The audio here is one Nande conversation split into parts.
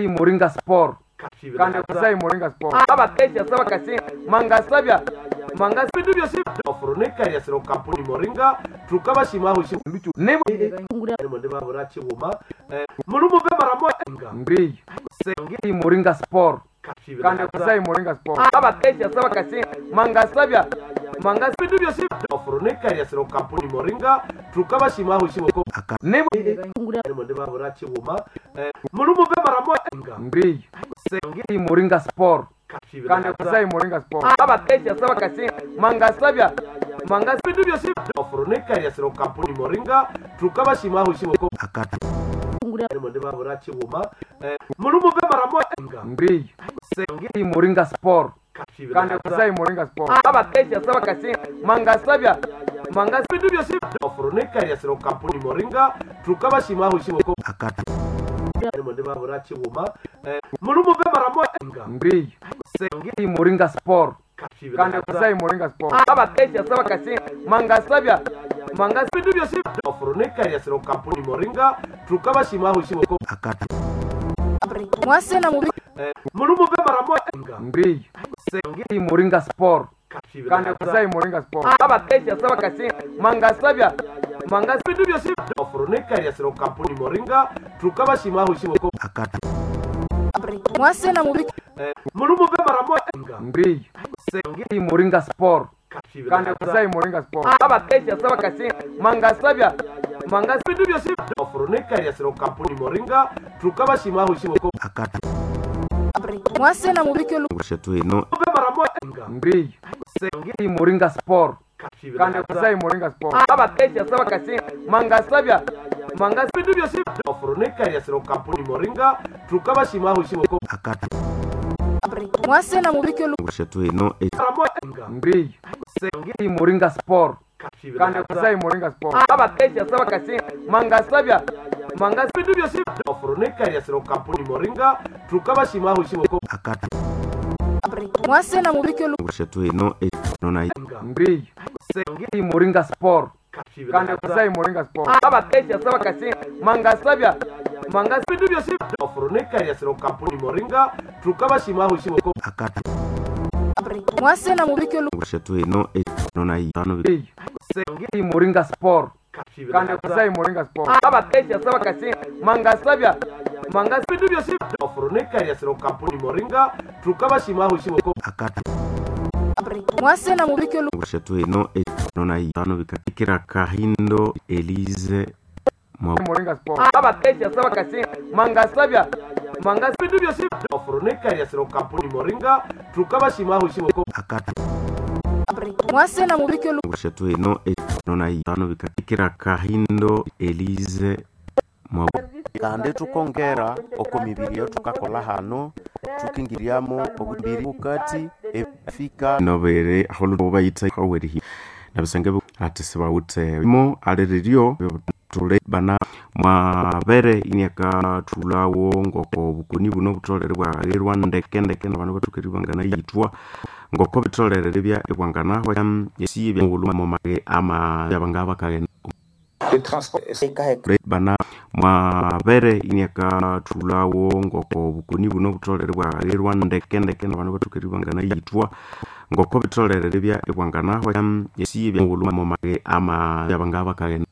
Moringa Sport kandi kusai Moringa Sport abakesha saba kasi mangasabya mangasa bindu byosi ofurunika siro kampuni Moringa tukabashimaho nduchu nebo monde babura chiguma mulumu bemaramo nga ndiyo sengi Moringa Sport kandi kusai Moringa Sport abakesha saba kasi mangasabya mangasa bindu byosi ofurunika siro kampuni Moringa tukabashimaho nebo monde babura chiguma mulumu bemaramo nga ndiyo sengi Moringa Sport kandi kusai Moringa Sport abakesha saba kasi mangasabya mangasa bindu byosi ofurunika siro kampuni Moringa tukabashimaho monde babura chiguma mulumu bemaramo nga ndiyo sengi Moringa Sport kandi kusai Moringa Sport abakesha saba kasi mangasabya mangasa bindu byosi ofurunika siro kampuni Moringa tukabashimaho monde babura chiguma mulumu bemaramo nga ndiyo sengi Moringa Sport kandi kusai Moringa Sport abakesha saba kasi mangasabya mangasa bindu byosi ofurunika siro kampuni Moringa tukabashimaho mulumu bemaramo nga ndiyo sengi Moringa Sport kandi kusai Moringa Sport abakesha saba kasi mangasabya mangasa bindu byosi ofurunika siro kampuni Moringa tukabashimaho mulumu bemaramo nga ndiyo sengi Moringa Sport kandi kusai Moringa Sport abakesha saba kasi mangasabya mangasa bindu byosi ofurunika siro kampuni Moringa tukabashimaho bemaramo nga ndiyo sengi Moringa Sport kandi kusai Moringa Sport abakesha saba kasi mangasabya mangasa bindu byosi ofurunika siro kampuni Moringa tukabashimaho maramo nga ndiyo sengi Moringa Sport kandi kusai Moringa Sport abakesha saba kasi mangasabya mangasa bindu byosi ofurunika siro kampuni Moringa tukabashimaho nga ndiyo sengi Moringa Sport kandi kusai Moringa Sport abakesha saba kasi mangasabya mangasa bindu byosi ofurunika siro kampuni Moringa tukabashimaho sengi Moringa Sport kandi kusai Moringa Sport abakesha saba kasi mangasabya mangasa bindu byosi ofurunika siro kampuni Moringa tukabashimaho Kahindo Elise Moringa Sport abakesha saba kasi mangasabya mangasa bindu byosi ofurunika siro kampuni Moringa tukabashimaho Kahindo Elise Kandi tukongera oko mibiri eyo tukakola hano tukingiriamo obubiri bukati efika nobere aholu bayitha awerihi nabisenge ati sibawuthe mo aliriryo tule bana mwabere iniaka thulawo ngoko bukoni buno butolere bwagherwa ndeke ndeke nabandu bathukeri bangana yithwa ngoko bitolere bya ebwangana esi bya momage ama yabanga bakaghenda bana mwabere iniaka thulawo ngoko bukoni buno butolere bwagherwa ndeke ndeke nabandu bathukeri bangana yithwa ngoko bitolere bya ebwangana esi bya momage ama yabanga bakaghenda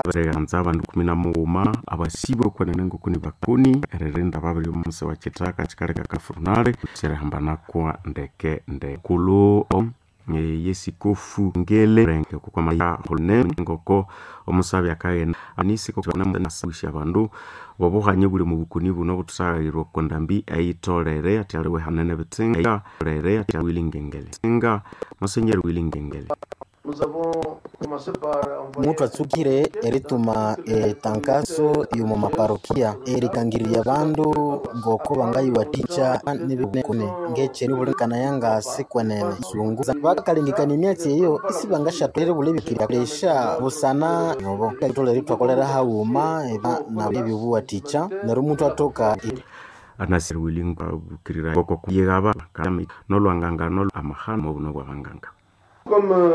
bereganza abandu 13 abasibwe kwenene ngokuni bakuni eririnda babiri omusi wa kitaka kikaleka kafurunale kyerihambanakwa ndeke ndeke kulu yesikofu ngele renge kukwama holne ngoko omusabi akaghenda anisikonawisha abandu bobuhanye buli mu bukuni buno butusaghairwa kondambi eyitolere ati aliwe hanene bitsinga rere ati wilingengele singa musenyeri wilingengele Mutu atsukire erituma etangaso yomu maparokia erikangirya bandu ngoko bangayiwathikya nibikune ngecheri bulikana yangasi kwenene sungu bakalengekania emyatsi eyo isibangashatwere bulebikirya lesha busana nobo tolere thwakolera haghuma na ebyobuwathikya neryo omuntu athoka anasir wilinga bukirira ngoko yegaba nolwanganga nol amahano obuno bwabanganga